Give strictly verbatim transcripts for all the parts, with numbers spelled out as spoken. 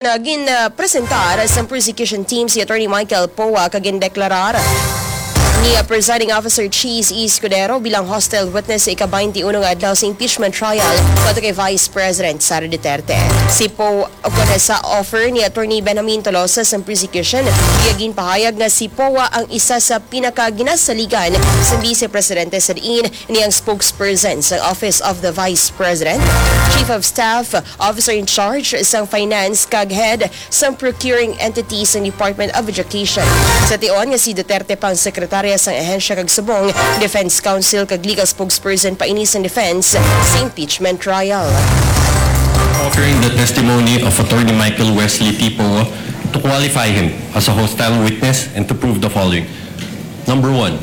Na gin, ah, presentar sa prosecution team si Attorney Michael Poa kag gindeklarar ni, ah, Presiding Officer Cheese Escudero bilang hostile witness sa ika-twenty-uno nga adlaw sa impeachment trial kontra kay Vice President Sara Duterte. Si Poa, ukon sa offer ni Attorney Benjamin Tolosa sa prosecution, iya ginpahayag nga si Poa ang isa sa pinakaginasaligan sa Vice Presidente sa diin niya ang spokesperson sa Office of the Vice President, Chief of Staff, Officer in Charge sang Finance, kag Head sang Procuring Entity sang Department of Education. Sa tion nga si Duterte pa ang sekretarya sang ahensya kag subong, Defense Counsel kag legal spokesperson pa ini sang defense sa impeachment trial. Offering the testimony of Attorney Michael Wesley Tipo to qualify him as a hostile witness and to prove the following. Number one,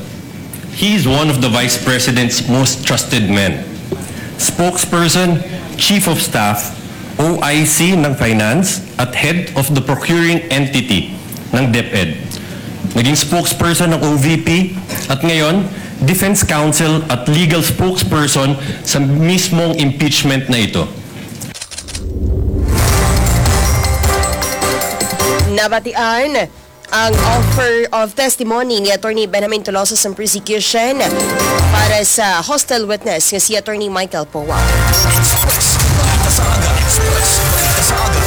he is one of the Vice President's most trusted men. Spokesperson, Chief of Staff, O I C ng Finance at Head of the Procuring Entity ng DepEd. Naging spokesperson ng O V P at ngayon, Defense Counsel at Legal Spokesperson sa mismong impeachment na ito. Nabatian ang offer of testimony ni Attorney Benjamin Tolosa sa prosecution para sa hostile witness nga si Attorney Michael Poa. Express. Balita sa aga. Express. Balita sa aga.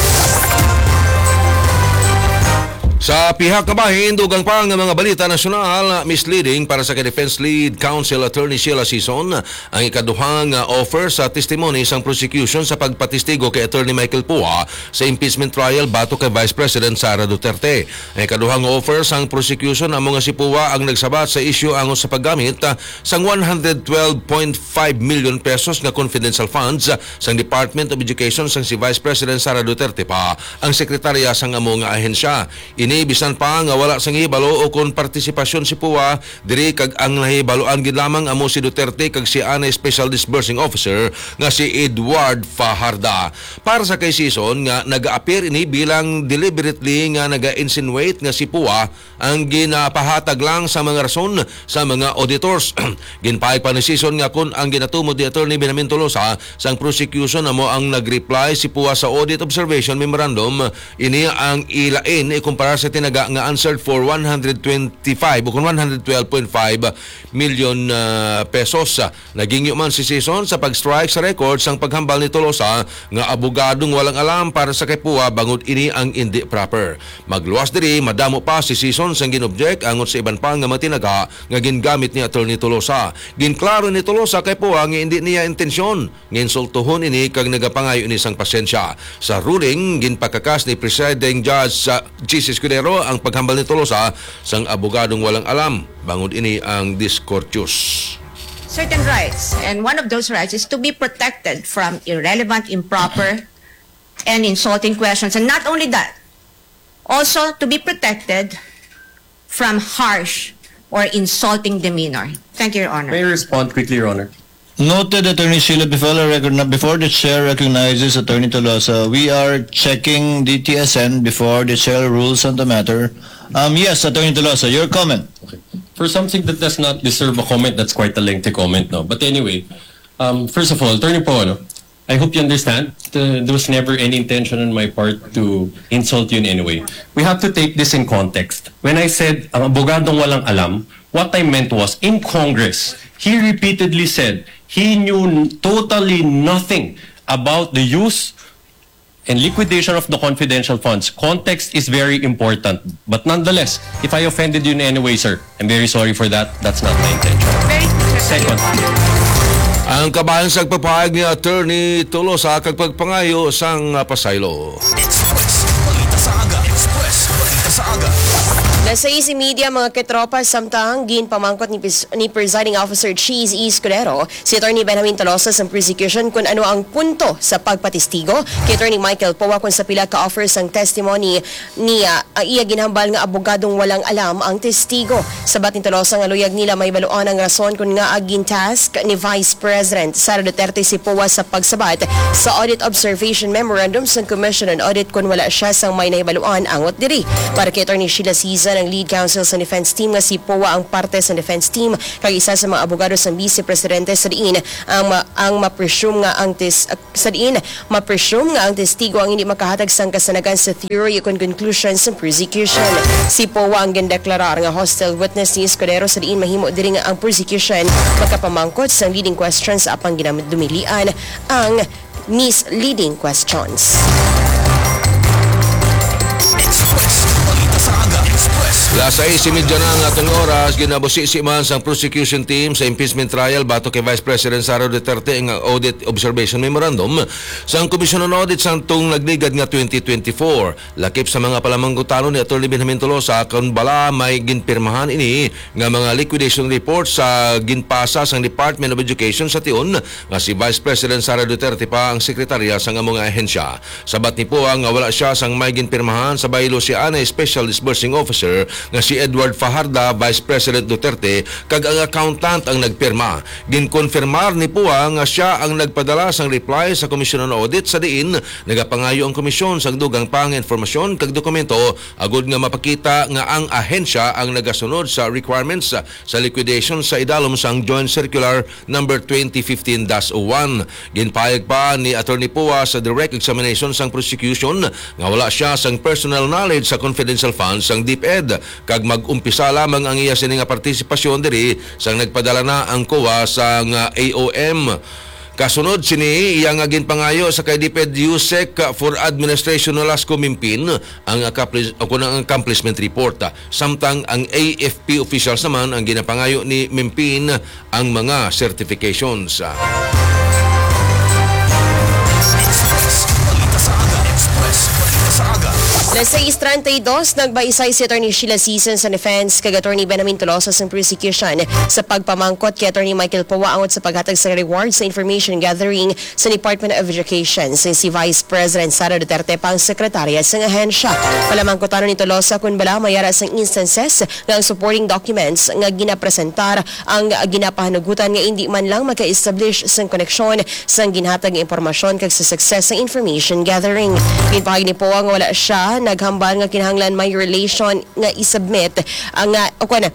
Sa pihak nga bahin, dugang pa nga mga balita nasyonal, misleading para sa kay Defense Lead Counsel Attorney Sheila Sison ang ikaduha nga offer sa testimony sang prosecution sa pagpatistigo kay Attorney Michael Poa sa impeachment trial batok kay Vice President Sara Duterte. Ang ikaduha nga offer sang prosecution amo nga si Poa ang nagsabat sa isyu angot sa paggamit, ah, sang one hundred twelve point five million pesos nga confidential funds, ah, sang Department of Education sang si Vice President Sara Duterte pa ang sekretarya sang amo nga ahensya. Ini bisan pa nga wala sang hibalo o kon partisipasyon si Poa diri, kag ang nahibaluan gid lamang amo si Duterte kag si anay Special Disbursing Officer nga si Edward Fajarda. Para sa kay Sison nga nag-appear ini bilang deliberately nga naga-insinuate nga si Poa ang ginapahatag lang sa mga rason sa mga auditors. Ginpahayag pa ni Sison nga kon ang ginatumod ni Attorney Benjamin Tolosa sang prosecution amo ang nag-reply si Poa sa audit observation memorandum, ini ang ilain ikumpara sa tinaga nga answered for one hundred twenty-five o kon one hundred twelve point five million, ah, pesos. Nagingyo man si Sison sa pag-strike sa record sang paghambal ni Tolosa nga abogadong walang alam para sa kay Poa bangod ini ang indi proper. Magluwas diri, madamo pa si Sison sang gin-object angot sa iban pa nga mga tinaga nga gingamit ni Attorney Tolosa. Ginklaro ni Tolosa kay Poa nga indi niya intensyon nga insultuhon ini kag nagapangayo ini sang pasensya. Sa ruling, ginpakakas ni Presiding Judge, ah, Chiz Escudero ang paghambal ni Tolosa sang abogadong walang alam bangod ini ang discourteous. Certain rights, and one of those rights is to be protected from irrelevant, improper, and insulting questions. And not only that, also to be protected from harsh or insulting demeanor. Thank you, Your Honor. May I respond quickly, Your Honor? Noted, Attorney Sheila. Before, I recogni- before the chair recognizes Attorney Tolosa, we are checking D T S N before the chair rules on the matter. Um, yes, Attorney Tolosa, your comment. For something that does not deserve a comment, that's quite a lengthy comment, no? But anyway, um, first of all, Attorney Poa, no? I hope you understand, uh, there was never any intention on my part to insult you in any way. We have to take this in context. When I said, ang abogadong walang alam, what I meant was, in Congress, he repeatedly said he knew n- totally nothing about the use and liquidation of the confidential funds. Context is very important. But nonetheless, if I offended you in any way, sir, I'm very sorry for that. That's not my intention. Second, Ang kabahin sa pagpapahayag ni Attorney Tolosa kag pagpangayo sang, ah, pasaylo. Express. Balita sa aga. Express. Balita sa aga. Alas sais y media, mga katropa, samtang ginpamangkot ni, Pres- ni Presiding Officer Cheese Escudero si Attorney Benjamin Tolosa sa prosecution kung ano ang punto sa pagpatistigo kay Attorney Michael Poa kung sa pila ka offers ang testimony niya. Ang iya ginhambal nga abogadong walang alam ang testigo. Sabat ni Tolosa nga luyag nila mahibaluan ang rason kung ngaa gin-task ni Vice President Sara Duterte si Poa sa pagsabat sa Audit Observation Memorandum sang Commission on Audit kung wala siya sang may nahibaluan angot diri. Para kay Attorney Sheila Siza, ang lead counsel sa defense team nga si Poa ang parte sa defense team kag isa sa mga abogado sa vice presidente sa diin ang ma-, ang ma-presume nga ang tis-, sa diin ma-presume nga ang testigo ang hindi makahatag sang kasanagan sa theory ukon conclusion sa prosecution. Si Poa ang gindeklarar nga hostile witness ni Escudero sa diin mahimo diri nga ang prosecution magkapamangkot sang leading questions apang ginadumilian ang misleading questions. Express. Balita sa aga. Express. Las sais y media na ang aton oras, ginabusisi man sang prosecution team sa impeachment trial batok kay Vice President Sara Duterte ang audit observation memorandum sang Commission on Audit sang tung nagligad nga twenty twenty-four. Lakip sa mga palamangkutanon ni Attorney Benjamin Tolosa kon bala may ginpirmahan ini nga mga liquidation report sa ginpasa sang Department of Education sa tion nga si Vice President Sara Duterte pa ang sekretarya sang amo nga ahensya. Sabat ni Poa nga wala sia sang may ginpirmahan sa baylo sia anay special disbursing officer nga si Edward Fajarda, Vice President Duterte, kag ang accountant ang nagpirma. Ginkonfirmar ni Poa nga sia ang nagpadala sang reply sa Commission on Audit sa diin nagapangayo ang komisyon sang dugang pa nga informasyon kag dokumento agud nga mapakita nga ang ahensya ang nagasunod sa requirements sa liquidation sa idalom sang Joint Circular number twenty fifteen dash oh one. Ginpahayag pa ni Attorney Poa sa direct examination sang prosecution nga wala sia sang personal knowledge sa confidential funds sang DepEd, kag mag-umpisa lamang ang iya sini nga partisipasyon diri sang nagpadala na ang COA sang A O M. Kasunod sini, iya nga ginpangayo sa kay DepEd USEC for Administration Nolasco Mimpin ang accomplish-, o kun ang accomplishment report, samtang ang A F P officials naman ang ginapangayo ni Mimpin ang mga certifications. Las sais treinta y dos, nagbaisay si Attorney Sheila Sison sa defense kag Attorney Benjamin Tolosa sa prosecution sa pagpamangkot kay Attorney Michael Poa angot sa paghatag sa reward sa information gathering sa Department of Education sang si Vice President Sara Duterte pa ang sekretarya sang ahensya. Palamangkutanon ni Tolosa kon bala may ara sang instances nga ang supporting documents nga ginapresentar ang ginapahanugutan nga indi man lang maka-establish sang koneksyon sang ginhatag nga impormasyon kag sa success sa information gathering. Ginpahayag ni Poa nga wala sia naghambal nga kinahanglan may relation nga isubmit ang, ah, o kuwan,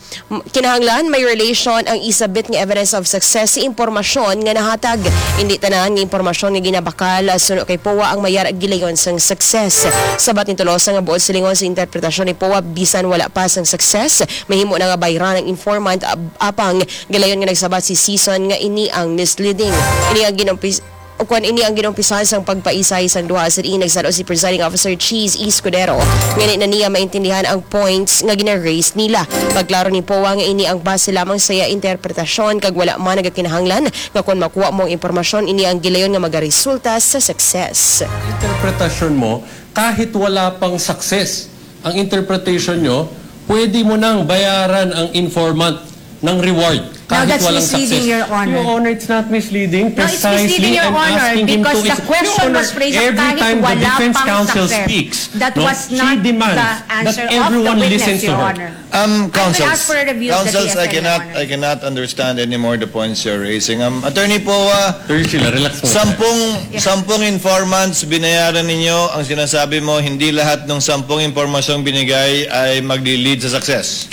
kinahanglan may relation ang isubmit nga evidence of success sa impormasyon nga nahatag. Indi tanan nga impormasyon nga ginabakal, ah, suno kay Poa ang mayar gilayon sang success. Sabat ni Tolosa nga buot silingon sa interpretasyon ni Poa, bisan wala pa sang success, mahimo na nga bayran ang informant, ab-, apang gilayon nga nagsabat si Sison nga ini ang misleading. Ini ang ginumpis-, o kuwan, ini ang ginumpisahan sang pagpaisay sang duha. Sa diin nagsalo si Presiding Officer Cheese Escudero nga di na niya maintindihan ang points nga gina-raise nila. Pagklaro ni Poa nga ini ang base lamang sa iya interpretasyon kag wala man nagakinahanglan nga kon makuha mo ang impormasyon, ini ang gilayon nga magaresulta sa success. Interpretasyon mo, kahit wala pang success ang interpretation nyo, pwede mo nang bayaran ang informant ng reward. Now, kahit that's walang misleading, success. Your Honor. Your Honor, it's not misleading. No, it's misleading, precisely, Your I'm Honor, asking him because to the ex-, question Your Honor, was raised every kahit time the wala defense pang counsel success. Speaks, that no, was she not demands the answer that of the everyone witness, listens to Your her. Honor. Um, I will counsels, ask for a review of the counsels, I T F L, Your cannot, Honor. I cannot understand anymore the points you're raising. Um, Attorney Poa, Attorney Sheila, relax mo. Sampung, Yeah. sampung informants binayaran ninyo, ang sinasabi mo, hindi lahat ng sampung impormasyong binigay ay magli-lead sa success.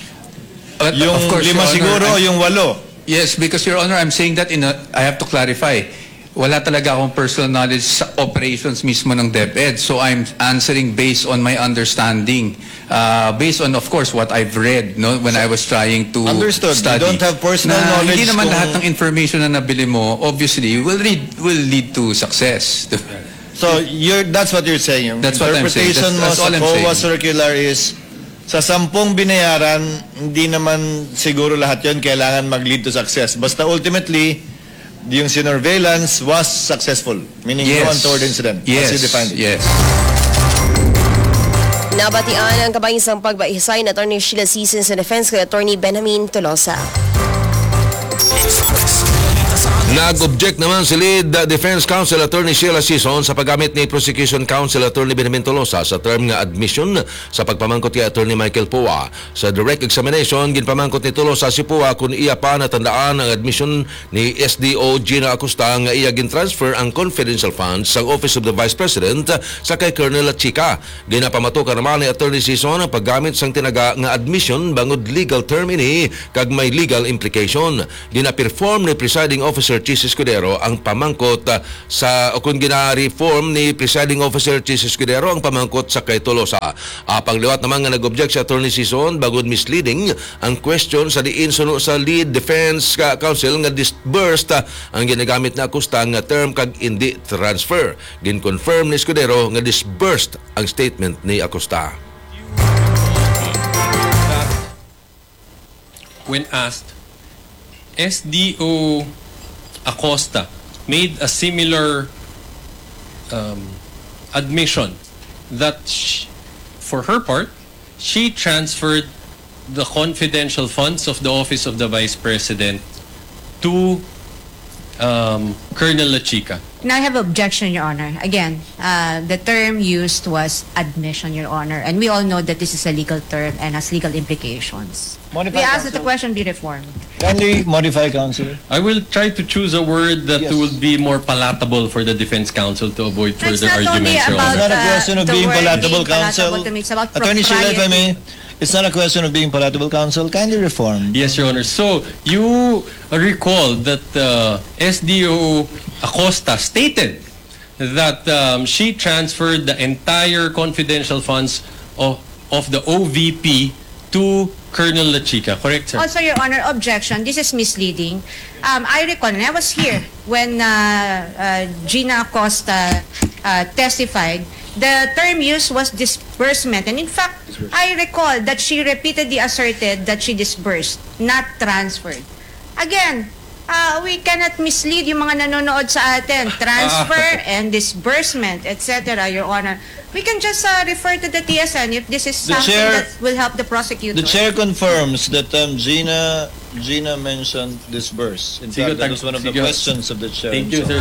But, yung of course, lima Your Honor, siguro, I'm yung walo. Yes, because, Your Honor, I'm saying that in a, I have to clarify. Wala talaga akong personal knowledge sa operations mismo ng DepEd. So I'm answering based on my understanding. Uh, based on, of course, what I've read, no, when I was trying to Understood. You study. Don't have personal Na knowledge hindi naman kung lahat ng information na nabili mo, obviously, will lead, will lead to success. So, you're, that's what you're saying. Yung That's what I'm saying. Interpretation That's, mo that's sa all I'm COA saying. Circular is, sa sampung binayaran, hindi naman siguro lahat yon kailangan mag-lead to success. Basta ultimately, yung sinurveillance was successful. Meaning, no Yes. untoward incident, as Yes. you defined it. Yes. Nabatian ang kabahin sang pagbaisay ni Attorney Sheila Sison sa defense kay Attorney Benjamin Tolosa. Express. Balita sa aga. Nag-object naman si Lead Defense Counsel Attorney Sheila Sison sa paggamit ni Prosecution Counsel Attorney Benjamin Tolosa sa term nga admission sa pagpamangkot kay Attorney Michael Poa. Sa direct examination, ginpamangkot ni Tolosa si Poa kung iya pa natandaan ang admission ni S D O Gina Acosta nga iya gin-transfer ang confidential funds sang Office of the Vice President sa kay Colonel Lachica. Ginapamatukan naman ni Attorney Sison ang paggamit sang tinaga nga admission bangod legal term ini kag may legal implication. Gina-perform ni Presiding Officer Chiz Escudero ang pamangkot, ah, sa, o kung gina-reform ni Presiding Officer Chiz Escudero ang pamangkot sa kay Tolosa. Apang liwat naman nga nag-object si Attorney Sison bangod misleading ang question sa diin suno sa lead defense ka counsel nga disbursed, ah, ang ginagamit na Acosta nga term kag indi transfer. Gin-confirm ni Escudero nga disbursed ang statement ni Acosta. When asked, S D O Acosta made a similar um, admission that sh- for her part, she transferred the confidential funds of the Office of the Vice President to um, Colonel Lachica. And I have objection, Your Honor. Again, uh, the term used was admission, Your Honor, and we all know that this is a legal term and has legal implications. Modify, We ask that the counsel. Question be reformed. Kindly modify, counsel. I will try to choose a word that Yes. Would be more palatable for the defense counsel to avoid It's further not only arguments, Your about It's Honor. not a uh, question of the being word palatable, being palatable counsel. To me. It's about Attorney Sheila, if I may, propriety. It's not a question of being palatable, counsel. Kindly reform. Yes, Your Honor. So, you recall that uh, S D O Acosta stated that um, she transferred the entire confidential funds of, of the O V P to Colonel Lachica, correct, sir? Also, Your Honor, objection. This is misleading. Um, I recall, and I was here when uh, uh, Gina Acosta uh, testified. The term used was disbursement. And in fact, I recall that she repeatedly asserted that she disbursed, not transferred. Again, uh, we cannot mislead yung mga nanonood sa atin. Transfer and disbursement, et cetera, Your Honor. We can just uh, refer to the T S N if this is The something chair- that will help the prosecutor. The chair confirms that um, Gina Gina mentioned disburse. In Sigo, fact, that tag- was one of the sigo. Questions of the chair. Thank you, So, sir.